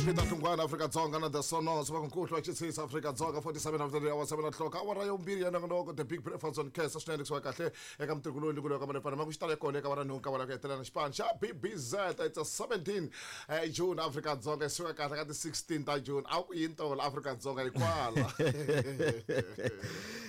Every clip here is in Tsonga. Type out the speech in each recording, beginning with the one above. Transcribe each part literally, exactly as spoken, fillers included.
Peter Hlungwana Afrika Dzonga na the Sonos va nkuhlu xitsisa Afrika Dzonga forty-seven after the hour seven o'clock awara yo mbirhi ya nongonoko the big breakfast on Kesa swinene kusuka kahle eka mtirhu loyi ku ka manefana ma ku xitalo kona eka vara nhungu ka vara ku hetelela xipano xa B B Z it's a seventeen June Afrika Dzonga suka kahle ka ti sixteen ta June a ku yini tolo Afrika Dzonga hikwala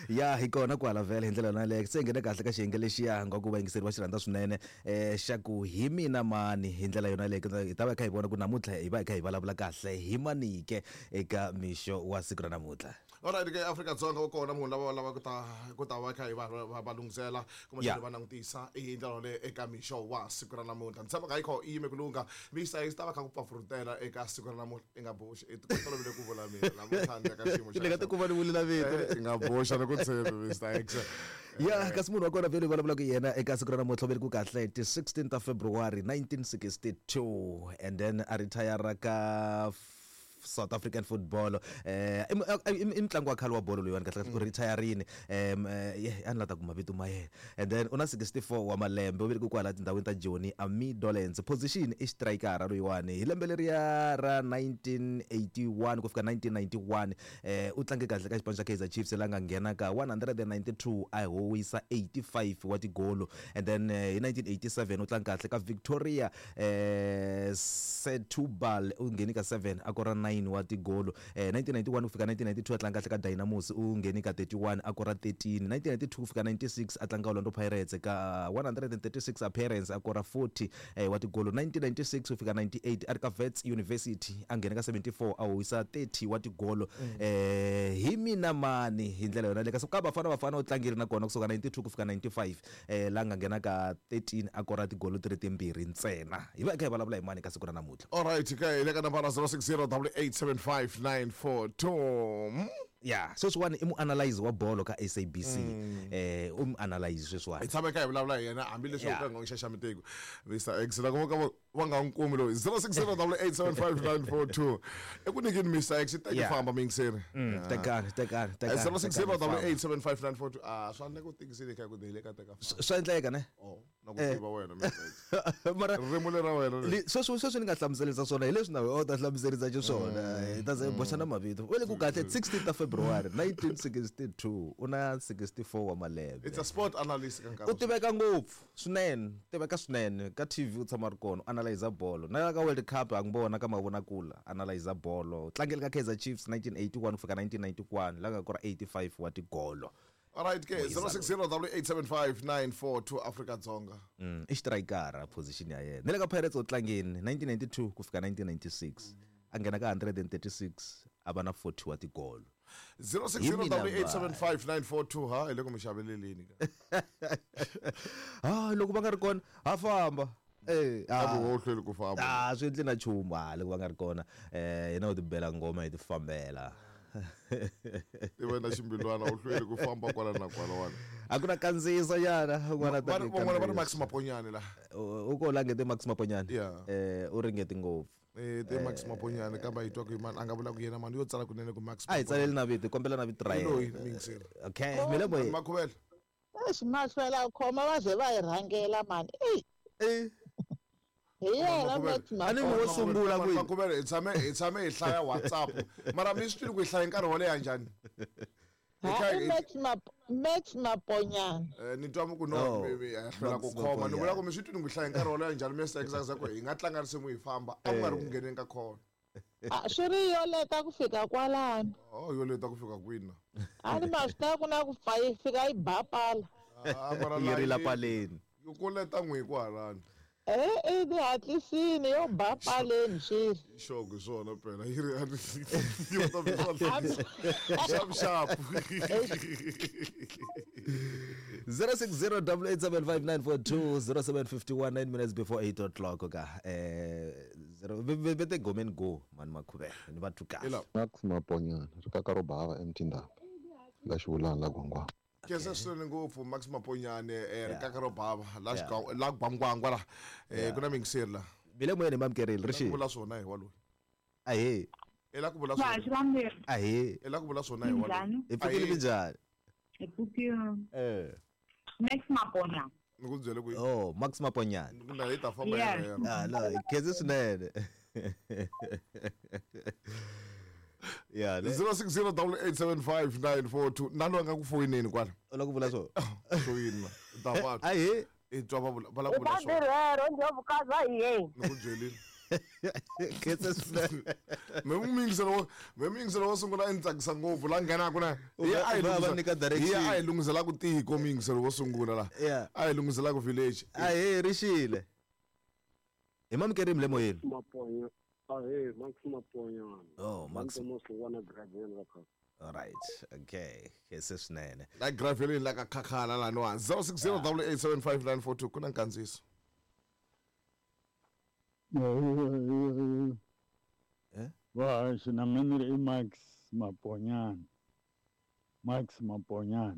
ya hi kona kwala vhele hi ndlela yaleyo se nghene kahle ka xiyenge lexiya nga ku vayingiseri va xi rhandza swinene eh xa ku hi mina mani hi ndlela yona leyo hi ta va hi kha hi vona ku namuntlha hi va hi kha hi vulavula kahle hi manike eka mixo wa siku ra namuntlha. Alright ke Afrika Dzonga u kona munhu lava lava ku ta ku ta va kha hi va va lunghisela kumbe xana va langutisa hi ndlela leyo eka mixo wa siku ra namuntlha ni tshemba ka yi kho i yime ku lungha misa yi ta va kha ku pfapfurutela eka siku ra namuntlha i nga boxi i tolovele ku vula mina namuntlha ni ka xiyimo xa ni nga tikuma ni vulela vito i nga boxa ni ku tshembi Mister X ya kasi munhu wa kona vhele vulavula ku yena eka siku ra namuntlha vele ku kahle ti sixteenth of February nineteen sixty-two and then a retire ka South African football eh i mutlangi wa khale wa bolo loyiwani kahle kahle u retireini em a ni la ta kuma vito ma yena and then u na sixty-four wa malembe u velekiwe kwala tindhawini ta Joni Amidolens position i striker loyiwani hi lembe leriya ra nineteen eighty-one ku fika nineteen ninety-one eh u tlange kahle ka xipano xa Kaizer Chiefs la nga nghena ka one hundred ninety-two a howisa eighty-five wa tigolo and then hi nineteen eighty-seven u tlange kahle ka Victoria eh Setúbal u ngheni ka seven a kora nine wa tigolo eh nineteen ninety-one ku fika nineteen ninety-two a tlanga kahle ka Dynamos u ngheni ka thirty-one a kora thirteen nineteen ninety-two ku fika ninety-six a tlanga Orlando Pirates ka one hundred thirty-six appearance a kora forty eh wa tigolo nineteen ninety-six ku fika ninety-eight a ri ka Wits University a nghena ka seventy-four a howisa thirty wa tigolo eh hi mina mani hi ndlela yona le ka ka Bafana Bafana u tlangile na kona kusuka ninety-two ku fika ninety-five eh la nga nghena ka thirteen a kora tigolo ti ri timbirhi ntsena hi va hi kha hi vulavula hi mani ka siku ra namuntlha. Alright ke hi le ka nambara zero six zero double eight seven five nine four two. Ya sweswiwani i muanalyze wa bolo ka S A B C eh u muanalyze sweswiwani hi tshame ka hi vulavula hi yena hambileswi u ka nga xaxamiteki Mister X loko va va nga n'wi kumi loyi zero six zero double eight seven five nine four two i ku nyikeni Mister X teki famba miyingiseri tekani tekani tekani zero six zero double eight seven five nine four two a swa endleka u tikisile kha ku hi le ka teka famba swa endleka ne oh na ku tiva wena Mister X mara ririmi lera wena sweswi sweswi ni nga hlamuserisa swona hi leswi na wena u ta hlamuserisa xiswona hi ta ze boxa na mavito u le ku kahle sixteenth of February nineteen sixty-two u na sixty-four wa malembe. It's a sport analyst ka nkarhi u tiveka ngopfu swinene tiveka swinene ka T V u tshama ri kona analyze bolo na ka World Cup a ngibona ka mavonakula analyze bolo tlangele ka Kaizer Chiefs nineteen eighty-one ku fika nineteen ninety-one la nga kora eighty-five wa tigolo. Alright ke zero six zero double eight seven five nine four two Afrika Dzonga mm i striker position ya yena ne le ka Pirates u tlangeni nineteen ninety-two ku fika nineteen ninety-six a nghena ka one hundred thirty-six a va na forty wa tigolo zero six zero double eight seven five nine four two ha hi le ku mi xaveleleni ka ah loko va nga ri kona ha famba eh a vo hlweli ku famba ah swi endli na nchumu ha loko va nga ri kona eh hina u tibela ngoma hi ti fambela i wena ximbilwana u hlweli ku famba kwala na kwala wana a ku na kandziyiso nyana un'wana ta van'wana va ri Max Maponyane la u ko langete Max Maponyane eh u ringete ngopfu eh te Max Maponyane kambe yi twa ku mani a nga vula ku yena mani yo tsala kunene ku Max a hi tsaleli na vito kombela na vito ra yena okay mina boy Makhuvela eish mahlwela khoma va ze va hi rhangela mani ey eh hi yena Max a ni wo sungula ku Makhuvela hi tshame hi tshame hi hlaya WhatsApp mara mi swi twile ku hi hlaya nkarhi wo leha njhani Max Max Maponyane eh ni twa ku no hlwela ku khoma ni vula ku mi swi twile ku hlaya nkarhi wo leha njhani Mister X ku hi nga tlanga risimu hi famba a ku nga ri ku ngheneni ka khona a swi ri yo leta ku fika kwalano oh yo leta ku fika kwini a ni ma swi tiva ku na ku pfa yi fika yi ba pala yi rila paleni yo ku leta n'wi ku halani eh eh di hatlisini yo ba paleni xi xogo swona phela yi ri yo ta swona xap xap zero six zero double eight seven five nine four two zero seven fifty-one nine minutes before eight o'clock ka eh zero vete gomeni go mani Makhuvela ni va kahle Max Maponyane ri kaka ro bava emtindaba la xivulana la gwangwa Kesa swinene ngopfu Max Maponyane eh ri kaka ro bava la la gwangwangwa la eh ku na mingiseri la bile moyeni mamkerile ri xi vula swona hi wa loyi ahe e la ku vula swona ahe e la ku vula swona hi wa loyi hi pfukile minjhani hi pfukile eh Max Maponyane ni ku byele ku oh Max Maponyane na hi ta famba Yeah. Ah no khense swinene Yeah, le- zero six zero double eight seven five nine four two na loyi a nga ku foyineni kwala u lava ku vula swona foyini ma ta va ahe i twa va vula va lava I ku vula bazi swona rero ndlhovukazi wa hiyeni ni ku byelile khensa swinene me muyingiselo wo me muyingiselo wo sungula i ni tsakisa ngopfu la nghenaku na U va- hi u va va nyika direction. a hi lunghiselaku tiko muyingiselo wo sungula la Yeah. a hi lunghiselaku village ahe rixile hi mamukerimi le moyeni Maponya. Ahee, Max Maponyana. Oh, Max. Moswana Gravel la kha. alright okay khensa swinene la graveleni la ka khakhala laniwa zero six zero double eight seven five nine four two ku na nkandziyiso Eh? Vahaxi na mina ni ri i Max Maponyana Max Maponyana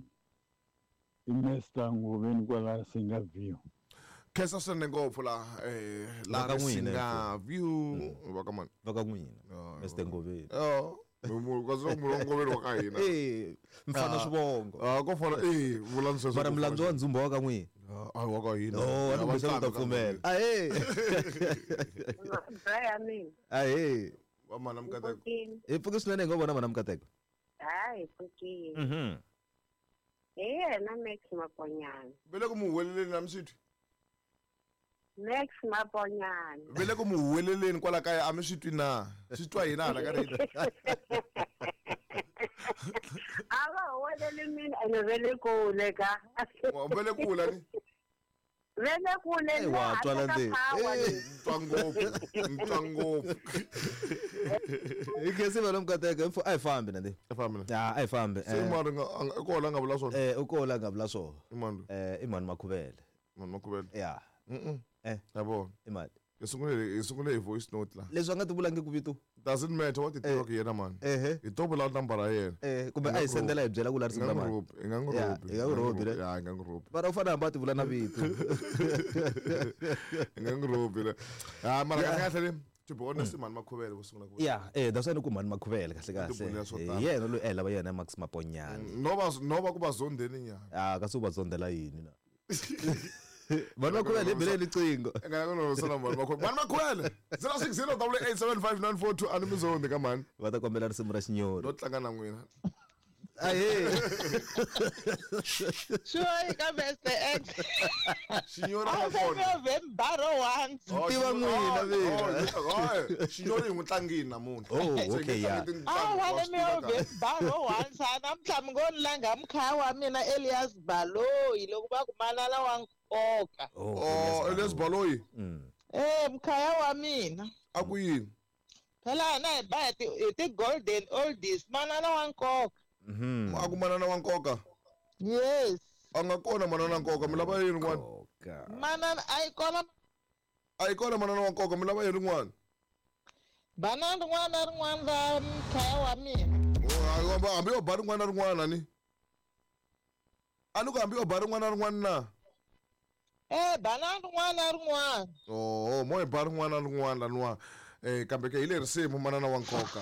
i Mister Ngoveni kwala Singa View khensa swinene ngopfu la eh la Va ka n'wina, Risinga view va ka mani va ka n'wina Oh, Mister Ngoveni oh kasi loko munhu wa Ngoveni wa ka hina Eh, mfana swivongo Ah, ko fana eh vulani sweswo mara ko mulandzu wa fana. ndzumba wa ka n'wina Ah, wa ka hina oh a ni Va kumbexana u ta nqambi ka pfumela ahe ya mina ahe Va mana Mukateko pfukini hi pfuke swinene hi ngo vona mana Mukateko hayi pfukini mhm hi yena Max Maponyana ve le ku mu huweleleni na mi swi twi Max Maponyana ve le ku mu huweleleni kwala kaya a mi swi twi na swi twa hina hala ka radio a va huweleli mina ene ve le kule ka ve le kula ni ve le kule Eh, wa le twala handle ka ndzeni. power Eh. leyi. ni twa ngopfu ni twa ngopfu hi khensi vana Mukateko hi a hi fambi nandi family ya a hi fambi se mari nga a nga- i kona a nga vula swona eh u kola nga vula swona i mani loyi? eh i mhani Makhuvele mani Makhuvele ya Mm-mm. Eh. ya vona i mani hi sungule hi sungule hi voice note la leswi a nga ti vulangi ku vito doesn't matter what ti tivaka hi yena mani ehe hi to vula nambara ya yena eh kumbe a hi sendela hi byela ku la hi risimu nga ra n'wi mani rhubi hi nga n'wi Ya, rhubi hi nga n'wi rhubi, ne? ya hi nga n'wi rhubi mara u fanele hambi a ti vula na vito hi nga n'wi rhubi le ha mara kahle kahle le to be honest mani Makhuvele vo sungula ku ya eh that's why ni ku mhani Makhuvele kahle kahle Tibulile swo hi tala. yena loyi a hi lava yena Max Maponyana no va no va ku va zondeni nyana ah kasi u va zondela yini na mhani Makhuvele hi beleni riqingho i nga ku nonosela mani Makhuvele mani Makhuvele zero six zero double eight seven five nine four two a ni mi zondi ka mani va ta kombela risimu ra xinyori no tlanga na n'wina ahe Sure, ka Mister X. xinyori a A nga wu kona se mi once. Oh, Tiva xinyori- n'wina oh, vina. oh, oh, xinyori hi n'wi tlangini namuntlha Oh, Se hi okay, nge yeah. tlangi tintangu, A wa wa swi mi tiva kahle. baro once namuntlha mi ngo ni langa mkhaya wa mina Elias Baloyi loko va ku manana wa nkoka. Oh, Elias Baloyi Mm. Eh mkhaya wa mina. a ku yini Phela hina hi ba hi ti hi ti golden oldies manana wa nkoka. Mhm. a ku manana wa nkoka Yes. a nga kona manana wa nkoka mi lava yini n'wana Nkoka. Manana a yi kona a yi kona manana wa nkoka mi lava yini n'wana banana rin'wana na rin'wana ra mkhaya wa mina. Oh, a- hambi yo ba rin'wana na rin'wana ni a ni ku hambi yo ba rin'wana na rin'wana na Eh banana rin'wana na rin'wana. oh mo hi ba rin'wana na rin'wana laniwa eh kambe ke hi le risimu manana wa nkoka